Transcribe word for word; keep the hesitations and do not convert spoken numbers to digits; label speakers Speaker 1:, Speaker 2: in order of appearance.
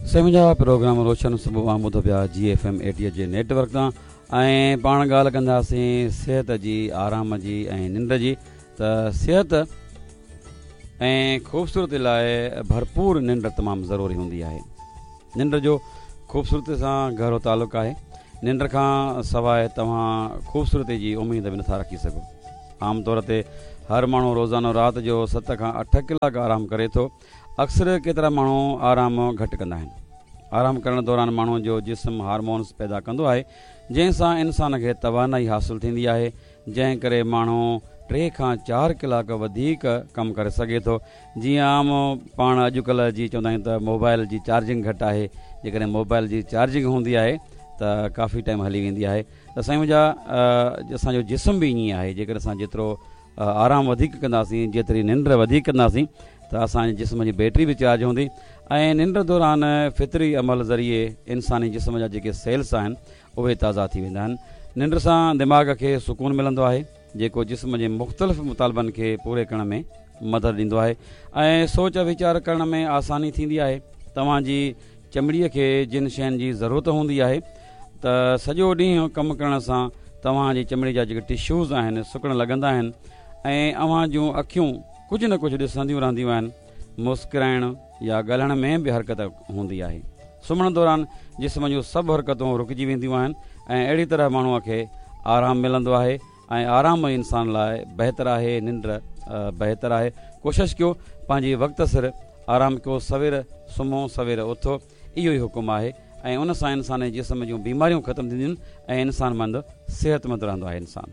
Speaker 1: سائين منهنجا پروگرام روشن صبح اوهان ٻڌو پيا جي ايف ايم ايٽيهه جي نيٽ ورڪ تان ۽ پاڻ ڳالهه ڪنداسين صحت جي، آرام جي ۽ ننڊ جي ته صحت ۽ خوبصورتي لاء ڀرپور ننڊ تمام ضروري هوندي آهي. ننڊ جو خوبصورتي سان گهرو تعلق آهي. ننڊ کان سواء توهان خوبصورتي جي اميد به نٿا رکي سگهو. عام طور تي هر ماڻهو روزانو رات جو ست کان اٺ ڪلاڪ آرام ڪري ٿو. اڪثر ڪيترا ماڻهو آرام گهٽ ڪندا آهن. آرام ڪرڻ دوران ماڻهو جو جسم هارمونز پيدا ڪندو آهي، جنهن سان انسان کي توانائي حاصل ٿيندي آهي، جنهن ڪري ماڻهو ٽي کان چار ڪلاڪ وڌيڪ ڪم ڪري سگهي ٿو. جيئن عام پاڻ اڄڪلهه جي چوندا آهيون ته موبائل جي چارجنگ گهٽ آهي، جيڪڏهن موبائل جي چارجنگ هوندي آهي ته ڪافي ٽائيم هلي ويندي آهي ته سائين منهنجا اسان جو جسم به ائين آهي، جيڪڏهن اسان جيترو آرام وڌيڪ ڪنداسين، جيتري ننڊ وڌيڪ ڪنداسين ته اسان جي جسم جي بيٽري به چارج هوندي ۽ ننڊ دوران فطري عمل ذريعي انساني جسم جا جيڪي سيلس آهن اهي تازا ٿي ويندا آهن. ننڊ سان دماغ کي سڪون ملندو آهي جيڪو جسم جي مختلف مطالبن کي پوري ڪرڻ ۾ مدد ڏيندو آهي ۽ سوچ ويچار ڪرڻ ۾ آساني ٿيندي آهي. توهان جي چمڙيء کي جن شين جي ضرورت هوندي آهي ته سڄو ڏينهن ڪم ڪرڻ سان توهان جي چمڙي جا جيڪي ٽشوز آهن سڪڻ لڳندا آهن ۽ اوهان جون اکيون ڪجهه نه ڪجهه ڏسنديون رهنديون آهن. مسڪرائڻ يا ڳالهائڻ ۾ به حرڪت هوندي آهي. سمهڻ دوران جسم جون سڀ حرڪتون رڪجي وينديون آهن ۽ اهڙي طرح ماڻهوء کي آرام ملندو آهي ۽ آرام انسان لاء بهتر آهي، ننڊ بهتر آهي. ڪوشش ڪيو پنهنجي وقت سر آرام ڪيو، سوير سمهو سوير اٿو، اهو ئي حڪم آهي ۽ ان سان انساني جسم جون بيماريون ختم ٿينديون ۽ انسان مند صحتمند رهندو آهي انسان.